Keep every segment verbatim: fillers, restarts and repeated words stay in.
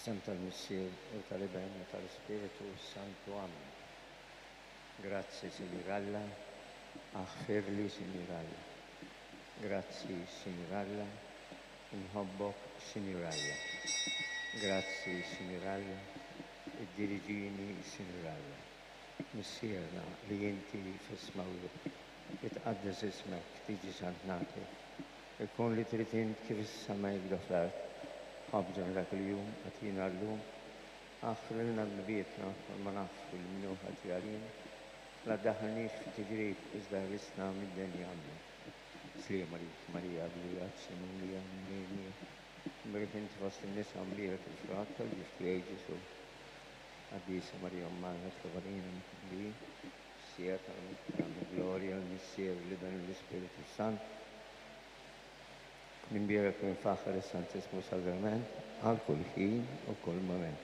F'isem tal-Missier u tal-Iben u tal-Ispiritu Santu. Amen. Grazzi, Sinjur Alla, aħfirli, Sinjur Alla. Grazzi, Sinjur Alla, inħobbok, Sinjur Alla. Grazzi, Sinjur Alla, iddiriġini, Sinjur Alla. Missierna li inti fis-smawwiet, itqaddes ismek, tiġi saltnatek. Ikun li trid int kif is-sema hekk fl-art. Ħobżna dak il-jum agħtina llum, aħfrilna dnubietna bħalma naħfru lil min hu ħati għalina. La ddaħħalniex fi tiġrib iżda ħlisna mid-deni. Amen. Sliem għalik Marija, b'grazzja mimlija Mulej miegħek. Imbierka inti fost in-nisa mbierek il-frott tal-ġuf tiegħek Ġesù. Qaddisa Marija Omm Alla itlob għalina midinbin, fis-siegħa tal-mewt tagħna. Glorja lill-Missier, l-Iben u l-Ispiritu Sant. Imbierek u mfaħħar is-Santissmu Sagrament għal kull ħin u kull moment.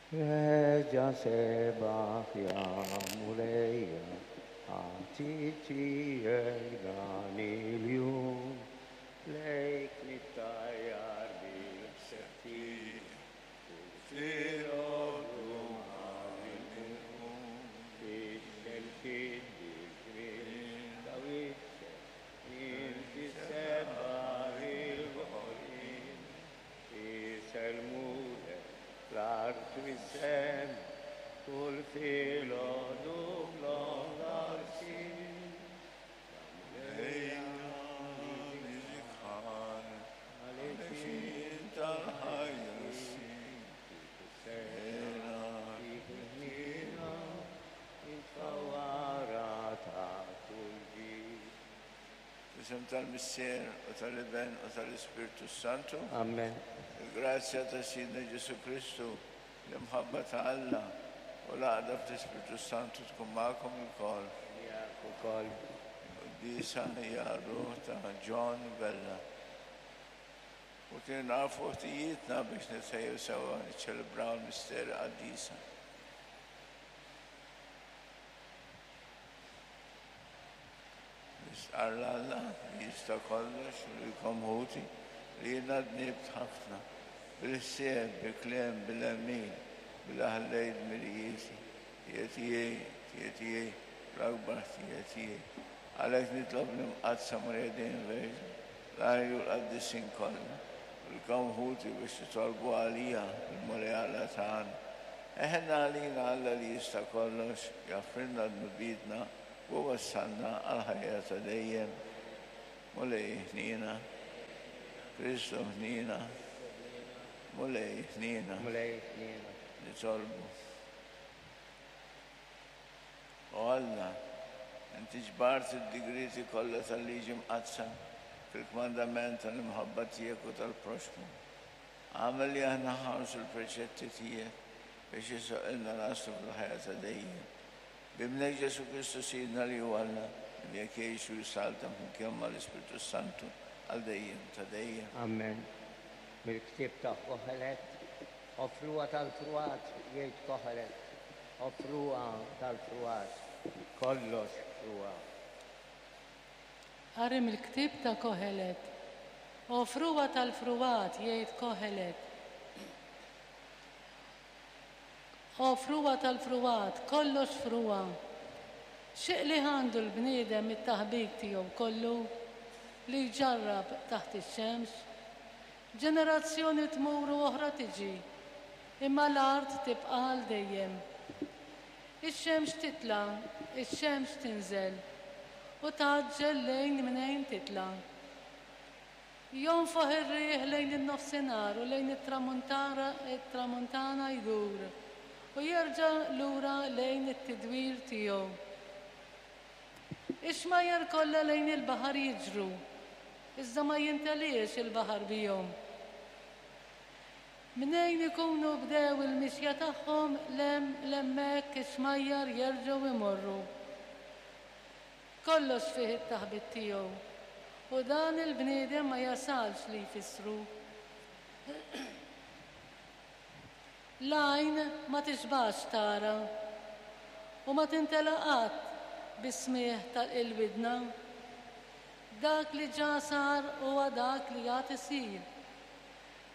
Reġa' sebaħ ja Mulejja, għati tiegħek dan il-jum, lejk nittajjar bil-seħti, u filgħodu ma nqum, ix-xemx bil-ġmiel ta' wiċċek, inti ssebbaħ il-ħolqien, isellmulek l-art u s-sema, kull filgħodu bl-ogħla lsien. Ejja niżikħan, għalixin tal-ħajja Sena ħniena, intfawara ta' kull ġid. F'isem tal-Missier u tal-Iben u tal-Ispirtu Santu. Amen. Il-grazzja ta' Sidna Ġesù Kristu, l-imħabba ta' Alla u l-għaqda fl-Ispirtu Santu tkun magħkom ilkoll. Miegħek ukoll. Quddiesa hija r-ruħ ta' John Vella. U kien nafu ħtijietna biex nitħejju sewa niċċelebraw l-misteri qaddisa. Nistqarr 'l Alla li jista' kollox u lilkom ħuti li jiena dnibt ħafna bil-ħsieb, bil-kliem, bil-għemil, billi ħallejt dmirijieti, ħtija tiegħi, ħtija tiegħi, l-akbar ħtija tiegħi. Għalhekk nitlob l-Imqaddsa Marija dejjem Verġni, l-anġli u l-qaddisin kollha, u lilkom ħuti biex titolbu għalija l-Mulej Alla tagħna. Eħenna għalina Alla li jista' kollox, jaħfrilna dnubietna u wassalna għall-ħajja ta' dejjem. Mulej ħniena, Kristu ħniena, Mulej ħniena. Mulej ħniena. Nitolbu. O Alla, inti ġbart id-digrieti kollha tal-liġi mqaddsa fil-kmandament tal-imħabba tiegħek u tal-proxxmu. Agħmel li aħna nħarsu l-preċetti tiegħek biex jisoqilna naslu fil-ħajja ta' dejjem. B'Ibnek Ġesù Kristu Sidna li hu Alla, li miegħek jgħix u jsaltan flimkien mal-Ispirtu Santu għal dejjem ta' dejjem. Amen. Mill-ktieb ta' Kohelet, O frugħa tal-frugħat, jgħid Kohelet, o frugħa tal-frugħat, kollox frugħa. Qari mill-ktieb ta' Kohelet. O frugħa tal-frugħat, jgħid Kohelet. O frugħa tal-frugħat, kollox frugħa. X'qligħ għandu l-bniedem mit-taħbit tiegħu kollu li jġarrab taħt ix-xemx? Ġenerazzjoni tmur u oħra tiġi, imma l-art tibqa' għal dejjem. Ix-xemx titla', ix-xemx tinżel, u tgħaġġel lejn mnejn titla'. Jonfoħ ir-riħ lejn in-nofsinhar u lejn it-tramuntana jdur, u jerġa' lura lejn it-tidwir tiegħu. Ix-xmajjar kollha lejn il-baħar jiġru, iżda ma jinteliex il-baħar bihom. Mnejn ikunu bdew il-mixja tagħhom l'hemmhekk ix-xmajjar jerġgħu imorru. Kollox fih it-taħbit tiegħu, u dan il-bniedem ma jasalx li jfissru. L-għajn ma tixbax tara, u ma tintela qatt bis-smigħ tal-widna. Dak li ġa sar huwa dak li għad isir.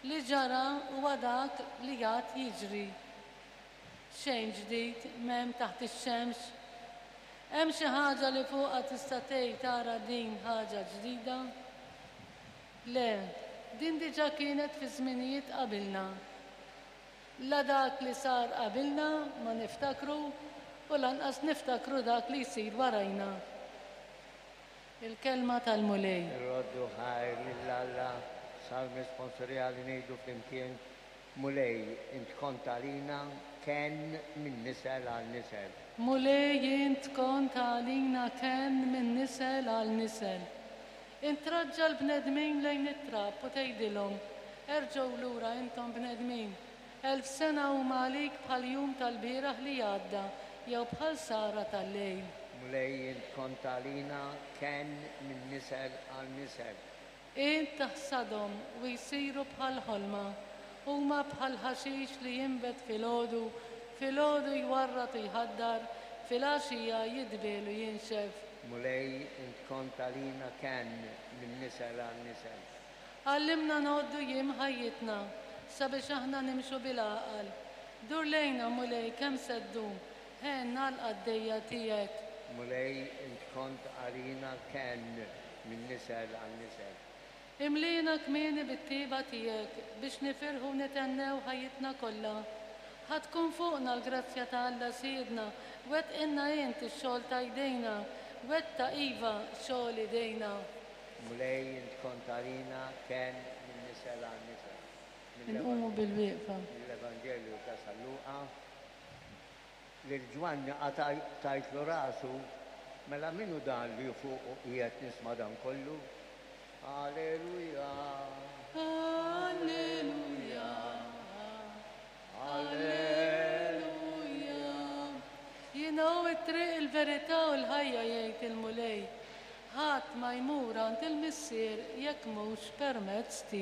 Li ġara huwa dak li għad jiġri. Xejn ġdid m'hemm taħt ix-xemx. Hemm xi ħaġa li fuqha tista' tgħid tara din ħaġa ġdida? Le, din diġà kienet fi żminijiet qabilna. La dak li sar qabilna ma niftakru u lanqas niftakru dak li jsir warajna. Il-kelma tal-Mulej. Irroddu ħajr lil Alla, salm responsorjali ngħidu flimkien, Mulej, int kont għalina kenn minn nisel għal nisel. Mulej, int kont għalina kenn minn nisel għal nisel. Int treġġa' l-bnedmin lejn it-trab u tgħidilhom, erġgħu lura intom bnedmin. Elf sena huma għalik bħal jum tal-bieraħ li għadda jew bħal sahra tal-lejl. Mulej, int kont għalina kenn minn nisel għal nisel. Int taħsadhom u jsiru bħal ħolma, huma bħal ħaxix li jinbet filgħodu, filgħodu jwarrad u jħaddar, filgħaxija jidbiel u jinxef. Mulej, int kont għalina kenn minn nisel għal nisel. Għallimna ngħoddu jiem ħajjitna sabiex aħna nimxu bil-għaqal. Dur lejna Mulej kemm se ddum, għinna l-qaddejja tiegħek. Mulej, int kont għalina kenn minn nisel għal nisel. Imlina kmieni bit-tiba tiegħek biex nifirħu nithennew ħajjitna kollha. Ħa tkun fuqna l-grazzja ta' Alla Sidna, wettqilna int ix-xogħol ta' jdejna, wettaq iva xogħol idejna. Mulej, int kont għalina kenn minn nisel għal nisel. Inqumu bil-wieqfa. Mill-Evanġelju ta' San Luqa, lil Ġwanni tajtlu rasu, mela min hu dan li fuq qiegħed nisma' dan kollu? Alleluja. Alleluja. Alleluja. Jiena hu t-triq il-verità u l-ħajja jgħid il-Mulej. Ħadd ma jmur għand il-Missier jekk mhux permezz tiegħi.